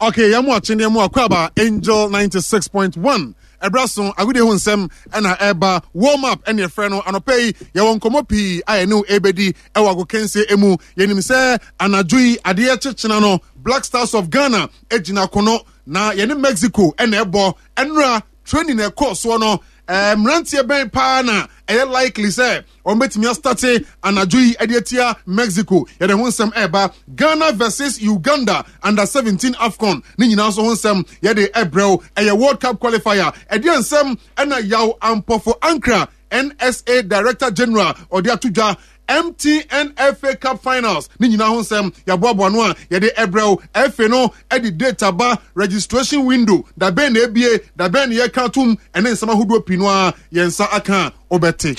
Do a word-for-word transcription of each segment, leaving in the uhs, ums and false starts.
Okay, yɛn mu akyeneɛ mu akɔ Angel ninety-six point one. Ɛbrɛ so agodie ho nsɛm ɛna ɛba warm up ɛne ɛfrɛ no. Anɔpɛ yi yɛwɔ nkɔmmɔ pii a yɛne ɛbɛdi ɛwɔ agokansie mu. Yɛnim sɛ anadwo yi adeɛ kyekyena no, Black Stars of Ghana gyina kono na yɛne Mexico ɛna ɛbɔ. Ɛnora training ɛkɔɔ soɔ no, ɛɛ mmeranteɛ bɛn paa na ɛyɛ likely sɛ wɔn bɛtumi astart anadwo yi ɛde atia Mexico? Yɛde ho nsɛm ɛreba. Ghana versus Uganda under seventeen AFCON ne nyinaa nso ho nsɛm yɛde ɛbrɛw. Ɛyɛ World Cup qualifier. Ɛdeɛ nsɛm ɛna Yaw Ampɔfo Ankra, N S A Director General, ɔde ato dwa. M T N F A Cup finals ne nyinaa ho nsɛm yɛaboaboa no a yɛde ɛbrɛw. F A no ɛde date ba, registration window dabɛn na ebie, dabɛn na yɛka tom, ɛne nsɛm ahodoɔ pii no a yɛn nsa aka a wobɛte.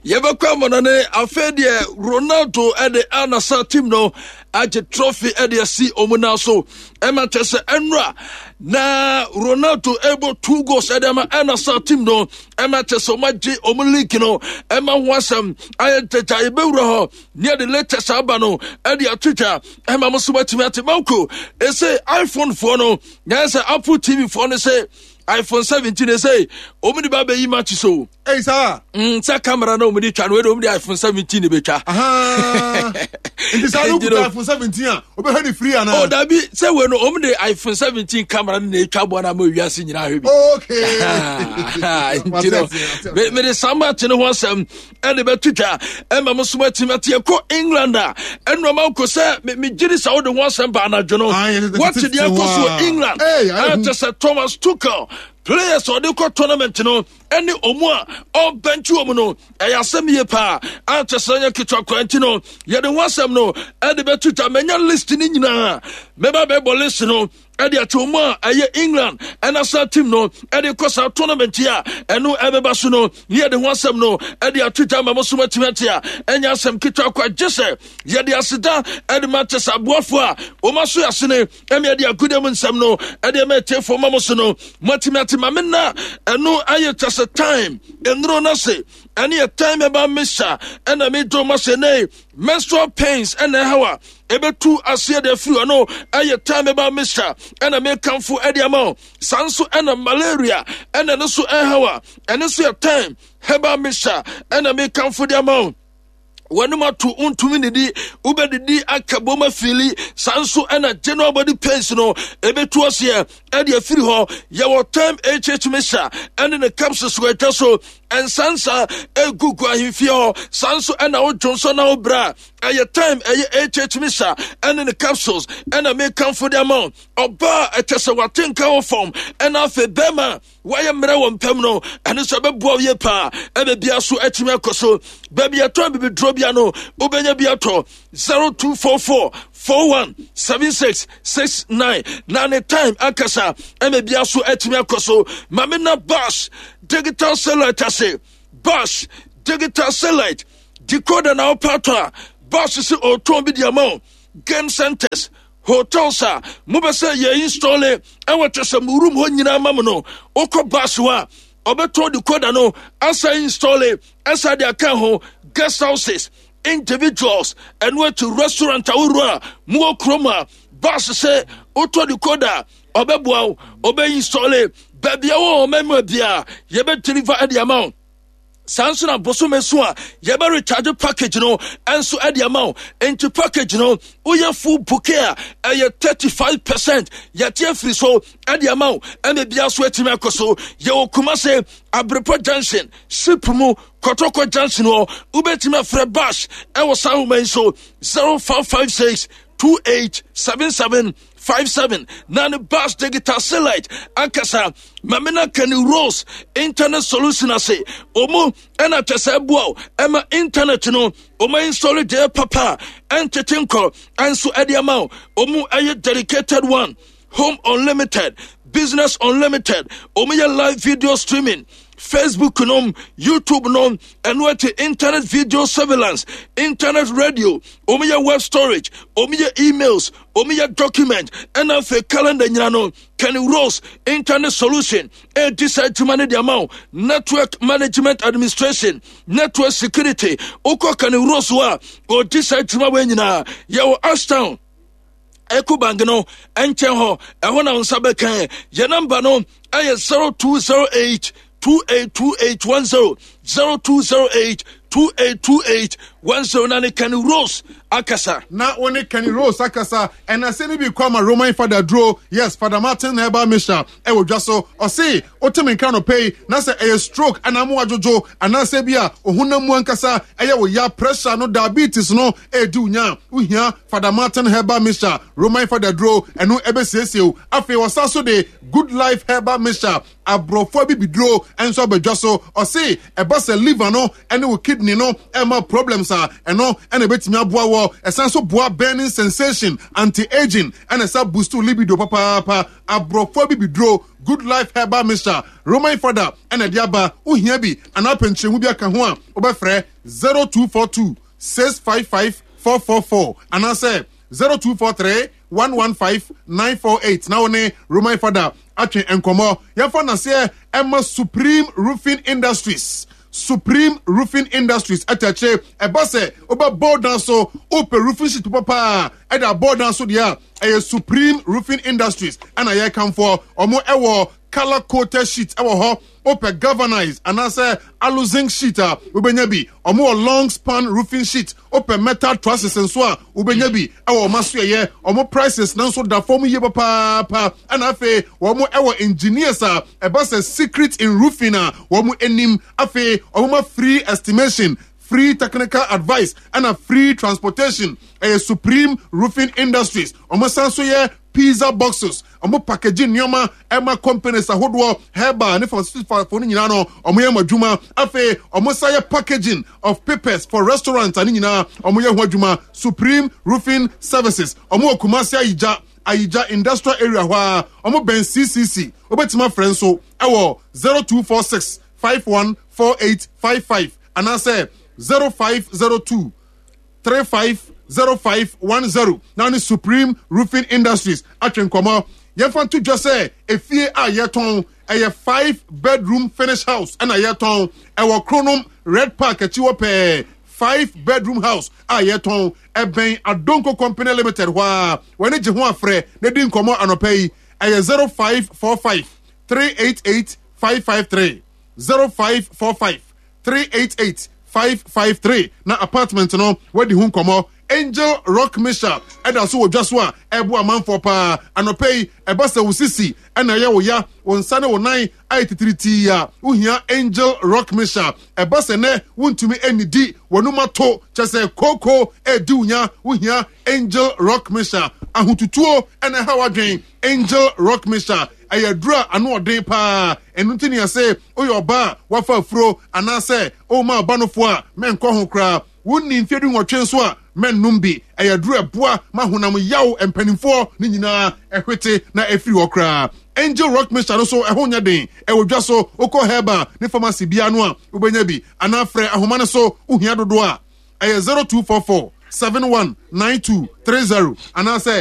Yɛbɛkɔ amɔno ne afei deɛ Ronaldo ɛde Al Nassr team no agye trophy ɛde asi ɔmu nan so. Ɛma kyɛ sɛ ɛnora na Ronaldo ɛbɔ two goals ɛde ama Al Nassr team no, ɛma kyɛ sɛ ɔmo agye ɔmo league no. Ɛma ho asɛm ayɛ ntɛgya. Yɛbɛwura hɔ ne yɛde latest aba no ɛde ato dwa ɛma mo so matumi ate. Manko ɛsɛ iPhone foɔ no nyɛ sɛ Apple T V foɔ no sɛ iPhone seventeen ɛsɛ ɔmo de ba bɛyi match so. Ɛyi saa. Mm, sɛ camera na ɔmo de twa no, wei de ɔmo de iPhone seventeen de bɛtwa. Nti saa no kuta iPhone seventeen a, wobɛhwɛ ne free ana? Oh dabi, sɛ wei no ɔmo de iPhone seventeen camera no na etwa bɔ na ama wiase nyinaa hwɛ bi. Okay nti no me mede saa match no ho asɛm ɛde bɛto twa ɛma mo so matumi ate. Ɛkɔ England a, ɛnoma nko sɛ megye di sɛ wode ho asɛm ba anadwo no. Ah, yɛ- wate deɛ ɛkɔ so wɔ England? Hey, ayɛ hu. Ɛkyɛ sɛ Thomas Tuchel players a ɔde kɔ tournament no ɛne ɔmu a ɔbɛnkye wɔ mu no, ɛyɛ asɛm yie paa ankyɛ sɛ nyɛ ketewa kora. Nti no yɛde ho asɛm no ɛde bɛto twa. Manya list no nyinaa, mɛba bɛbɔ list no ɛde ato mu a ɛyɛ England ɛna saa team no ɛde kɔ saa tournament yi a ɛno ɛbɛba so no, ne yɛde ho asɛm no ɛde ato dwa ma mo so matumi ate a ɛnyɛ asɛm ketewa kɔ. Agye sɛ yɛde aseda ɛde ma kyɛ sɛ aboafoɔ a wɔma so yɛasene ɛne yɛde agodie mu nsɛm no ɛde ɛma atiefoɔ ma mo so no moatumi ate. Ma me na ɛno ayɛ kyɛ sɛ time nnuro no se ɛne yɛ time ɛba misa ɛna medwo ma sɛ nei menstrual pains ɛna ɛhaw a ɛbɛtu aseɛ de afiri hɔ no, ɛyɛ time ɛba misa ɛna mekamfo ɛde ama wo. Saa nso ɛna malaria ɛna no so ɛhaw a, ɛno nso yɛ time herbal mixture ɛna mekamfo de ama wo. Wɔnum ato ntumi didi, wobɛdidi aka bom afili. Saa nso ɛna general body pains no ɛbɛtu aseɛ ɛde afiri hɔ. Yɛwɔ time H H mixture ɛne ne capsules wɔ atwa so nsansa ɛgugu ahemfie hɔ. Saa nso ɛna wodwo nso na wobrɛ a, ɛyɛ time ɛyɛ H H mixture ɛne ne capsules ɛna mekamfo de ama wo. Ɔbaa ɛkyɛ sɛ wate nka wɔ fam, ɛna afei bɛrima wayɛ mmerɛ wɔ mpam no, ɛno nso ɛbɛboa wo yie paa. Ɛbɛ bia so atumi akɔ so. Baabi ɛtɔn bibiduro bia no, wobɛnya bi atɔ. zero two four four four one seven six six nine na ne time ankasa ɛmɛ bia so atumi akɔ so. Maame na Bash Digital Satellite ase, Bash Digital Satellite decoder na wopɛ atɔ a, Bash sɛ ɔtɔn bi di ama wo. Game centers, hotels a mobɛ sɛ yɛ install ɛwɔ kyɛ sɛ mo room hɔ nyinaa ma mo no, wokɔ Bash hɔ a, ɔbɛtɔn decoder no asa install ɛsa de aka ho. Guest houses, individuals, ɛno akyi restaurant ahoroɔ a mowɔ kurom a, Bash sɛ wotɔ decoder a, ɔbɛboa wo, ɔbɛ install. Baabi a wɔ ɔma mu bia, yɛbɛ deliver ɛde ama wo. Saa nso na bosome so a yɛbɛ recharge package no ɛnso ɛde ama wo. Nti package no woyɛ full bouquet a, ɛyɛ thirty-five percent yɛte afiri so ɛde ama wo. Ɛna bia so atumi akɔ so. Yɛwɔ Kumase Abrepɔ Junction, ship mu Kɔtɔkɔ Junction hɔ. Wobɛtumi afrɛ Bash ɛwɔ saa ahoma yi so: zero five five six two eight seven seven five seven. Na ne Bash Digital Satellite ankasa. Mamina Kenny Rose Internet Solution ase, ɔmu ɛna kyɛ sɛ ɛboa wo ɛma internet no ɔma install deɛ papa a ɛntete nkɔ ɛnso ɛde ama wo. Ɔmu ɛyɛ dedicated one, home unlimited, business unlimited. Ɔmu yɛ live video streaming, Facebook nom, YouTube nom, ɛno akyi internet video surveillance, internet radio. Ɔmu yɛ web storage, ɔmu yɛ emails, ɔmu yɛ document, ɛna afei calendar nyina no. Kenny Rose Internet Solution ɛdi saa adwuma no de ama wo. Network management administration, network security, wokɔ Kenny Rose hɔ a, ɔdi saa adwuma wɔ nyinaa. Yɛwɔ Ashtown Ecobank no nkyɛn hɔ, ɛhɔ na nsa bɛkan. Yɛn namba no ɛyɛ zero two zero eight two eight two eight one zero zero two zero eight two eight two eight one zero na ne Kenny Rose akasa. Na wo ne Kenny Rose akasa. Ɛna sɛ ne bi kɔ ama Roman Fada duro. Yes, Fada Martin na ɛba Misha ɛwɔ dwa so. Ɔse wotemi nka no pɛi na sɛ ɛyɛ stroke anaa mo adwodwo anaasɛ bi a ohunam mu ankasa ɛyɛ wo ya, pressure no, diabetes no ɛdi wo nya, wohia Fada Martin Herbal Mixture, Roman Fada duro. Ɛno ɛbɛsiesie wo. Afei wɔsa so de Good Life Herbal Mixture, aborɔfo abibiduro nso abɛdwa so. Ɔse ɛba sɛ liver no ɛne wo kidney no ɛma problems a, ɛno ɛna ɛbɛtumi aboa wɔ. Ɛsan so boa burning sensation, anti-aging, ɛna ɛsa boost libido papaapa. Aborɔfo abibiduro Good Life Herbal Mixture, Roman Fada ɛna ɛde aba. Wohia bi anaa pɛnkyerɛmu bi aka ho a, wobɛfrɛ zero two four two six five five four four four anaasɛ zero two four three one one five nine four eight na wo ne Roman Fada atwe nkɔmmɔ. Yɛmfa naseɛ ɛma Supreme Roofing Industries. Supreme Roofing Industries ɛtɛkyerɛ ɛba sɛ wobɛbɔ dan so, wopɛ roofing sheet papa a ɛde abɔ dan so deɛ a, ɛyɛ Supreme Roofing Industries ɛna yɛrekamfoɔ. Ɔmo ɛwɔ color coated sheet ɛwɔ hɔ. Wopɛ galvanized anaasɛ aluzinc sheet a, wobɛnya bi. Ɔmo wɔ long span roofing sheet. Wopɛ metal trusses nso a, wobɛnya bi ɛwɔ ɔmo aso. Ɛyɛ ɔmo prices nanso da fam yie papaapa. Ɛna afei wɔn ɛwɔ engineers a ɛba sɛ secret in roofing a wɔn anim. Afei ɔmo ma free estimation, free technical advice, ɛna free transportation. Ɛyɛ Supreme Roofing Industries. Ɔmo san so yɛ pizza boxes. Ɔmo package nneɛma ɛma companies ahodoɔ, herbal ne pharmaceutical no nyinaa no, ɔmo yɛ mo adwuma. Afei ɔmo sa yɛ packaging of papers for restaurants ane nyinaa, ɔmo yɛ ho adwuma. Supreme Roofing Services, ɔmo wɔ Kumasi Ayigya, Ayigya Industrial Area hɔ a ɔmo bɛn C C C. Wobɛtumi afrɛ nso ɛwɔ zero two four six five one four eight five five anaasɛ zero five zero two three five zero five one zero na ne Supreme Roofing Industries atwe nkɔmɔ. Yɛmfa nto dwa sɛ efie a yɛtɔn ɛyɛ five bedroom finish house ɛna yɛtɔn. Ɛwɔ Kronom Red Park akyi hɔ pɛɛ. Five bedroom house a yɛtɔn ɛbɛn Adonko Company Limited hɔ a wɔne gye ho afrɛ na di nkɔmɔ anɔpɛ yi. Ɛyɛ zero five four five three eight eight five five three, zero five four five three eight eight five five three na apartment no wadi ho nkɔmɔ. Angel Rock Mixture ɛda so wɔ dwa so a ɛbo amanfoɔ paa anɔpɛ yi. Ɛba sɛ wo sisi ɛna ɛyɛ wo ya, wo nsa ne wo nan ayɛ titiritii a, wohia Angel Rock Mixture. Ɛba sɛ nɛ wontumi ɛnidi, w'anum ato, kyɛ sɛ kooko ɛdi wo nya, wohia Angel Rock Mixture. Ahotutuo ɛna ɛha w'adwen, Angel Rock Mixture ɛyɛ aduru a ano ɔden paa. Ɛno nti ne yɛsɛ woyɛ ɔbaa a wafa afuro anaasɛ woma ɔba nofoɔ a, mɛnkɔ ho koraa. Wonni mfeɛ du nwɔtwe nso a, mɛnnom bi. Ɛyɛ aduru ɛboa ma honam yaw mpanimfoɔ ne nyinaa ɛhwete na ɛfiri hɔ koraa. Angel Rock Mixture no so ɛho nyɛ den. Ɛwɔ dwa so. Wokɔ herbal ne pharmacy biara no a, wobɛnya bi anaa frɛ ahoma no so. Wohia dodoɔ a, ɛyɛ zero two four four seven one nine two three zero anaasɛ